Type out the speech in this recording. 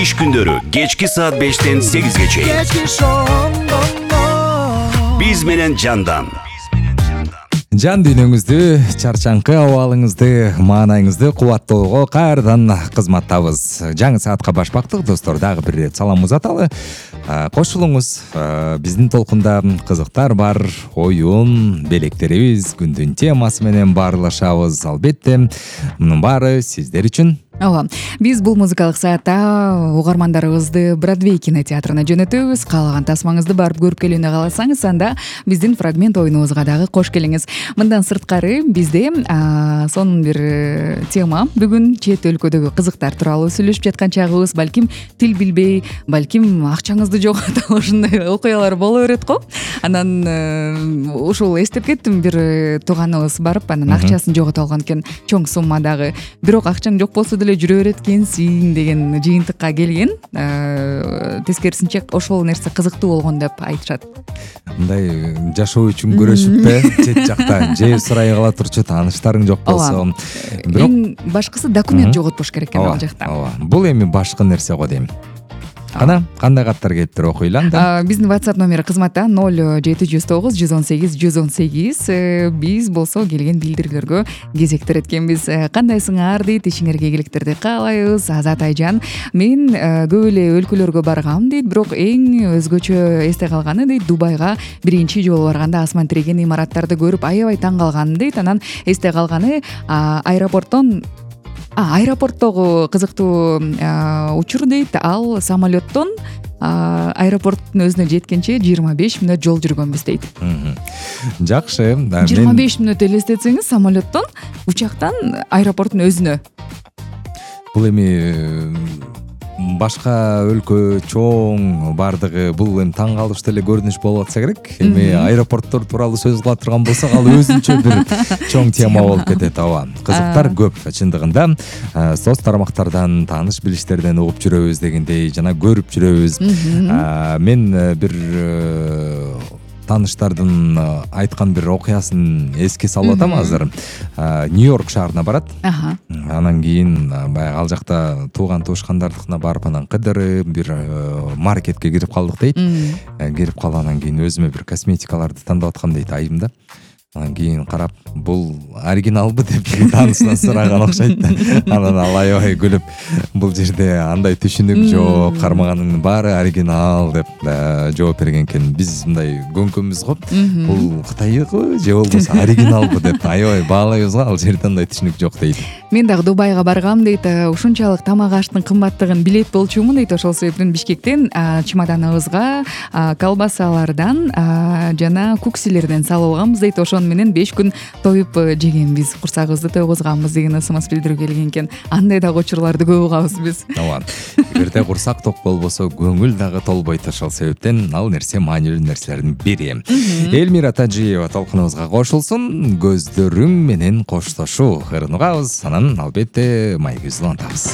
иш күндөрү кечки саат 5-тен 8-ге чейин биз менен жандан. Жан дүйнөңүздү, чарчаңкы абалыңызды, маанайыңызды кубаттоого кайрадан кызматтабыз. Жаңы саатка башпактык достор, дагы бир ирет салам узаталы. Кошулуңуз, биздин толкунда кызыктар бар, оюн, белектерибиз, күндүн темасы менен баарлашабыз. Албетте, мунун баары сиздер үчүн. Ооба, биз бул музыкалык саатта угармандарыбызды Бродвей кинотеатрына жөнөтөбүз. Каалаган тасмаңызды барып көрүп келүүнү кааласаңыз, анда биздин фрагмент оюнубузга дагы кош келиңиз. Мындан сырткары бизде сонун бир тема. Бүгүн чет өлкөдөгү кызыктар тууралуу сүйлөшүп жаткан чагыбыз, балким тил билбей, балким акчаңызды жоготуп ушундай окуялар боло берет го. Анан ушул эстеп кеттим, бир тууганыбыз барып, анан акчасын жоготуп алган экен, чоң суммадагы. Бирок акчаң жок болсо деле жүрө берет экенсиң деген жыйынтыкка келген. Тескерисинче ошол нерсе кызыктуу болгон деп айтышат. Мындай жашоо үчүн көрөшүп чет жакта же сурай кала турчу тааныштарың жок болсо, бирок эң башкысы документ жоготпош керек экен ал жакта. Ооба. Бул эми башкы нерсе го дейм. Кана кандай каттар келиптир, окуйлу анда. Биздин WhatsApp номери кызматта 0709 118 118. Биз болсо келген билдирүүлөргө кезектер эткенбиз. Кандайсыңар дейт, ишиңерге ийгиликтерди каалайбыз. Азат Айжан, мен көп эле өлкөлөргө баргам дейт, бирок эң өзгөчө эсте калганы дейт, Дубайга биринчи жолу барганда асман тиреген имараттарды көрүп аябай таң калганым дейт. Анан эсте калганы аэропорттогу кызыктуу учур дейт. Ал самолеттон аэропорттун өзүнө жеткенче 25 мүнөт жол жүргөнбүз дейт. Жакшы. 25 мүнөт элестетсеңиз, самолеттон, учактан аэропорттун өзүнө. Бул эми башка өлкө чоң бардыгы, бул эми таң калыштуу эле көрүнүш болуп атса керек. Эми аэропорттор тууралуу сөз кыла турган болсок, ал өзүнчө бир чоң тема болуп кетет. Ооба, кызыктар көп чындыгында. Соц тармактардан, тааныш билиштерден угуп жүрөбүз дегендей, жана көрүп жүрөбүз. Мен бир тааныштардын айткан бир окуясын эске салып атам азыр. Нью-Йорк шаарына барат. Анан кийин баягы ал жакта тууган туушкандардыкына барып, анан кыдырып бир маркетке кирип калдык дейт. Кирип калгандан кийин өзүмө бир косметикаларды тандап аткам дейт айымда. Анан кийин карап, бул оригиналбы деп таанысынан сураган окшойт да. Анан ал аябай күлүп, бул жерде андай түшүнүк жок, кармаганыңдын баары оригинал деп жооп берген экен. Биз мындай көңкөмбүз го, бул Кытайбы же болбосо оригиналбы деп аябай баалайбыз го, ал жерде андай түшүнүк жок дейт. Мен дагы Дубайга баргам дейт, ушунчалык тамак аштын кымбаттыгын билет болчумун дейт. Ошол себептен Бишкектен чемоданыбызга колбасалардан жана куксилерден салып алганбыз дейт. Ошону менен 5 күн тоюп жегенбиз, курсагыбызды тойгузганбыз деген ысымыз билдирүү келген экен. Андай дагы учурларды көп угабыз биз. Ооба. Эгерде курсак ток болбосо, көңүл дагы толбойт. Ошол себептен ал нерсе маанилүү нерселердин бири. Элмира Тажиева толкунубузга кошулсун. Көздөрүң менен коштошуу ырын угабыз. Анан албетте майгыбызды улантабыз.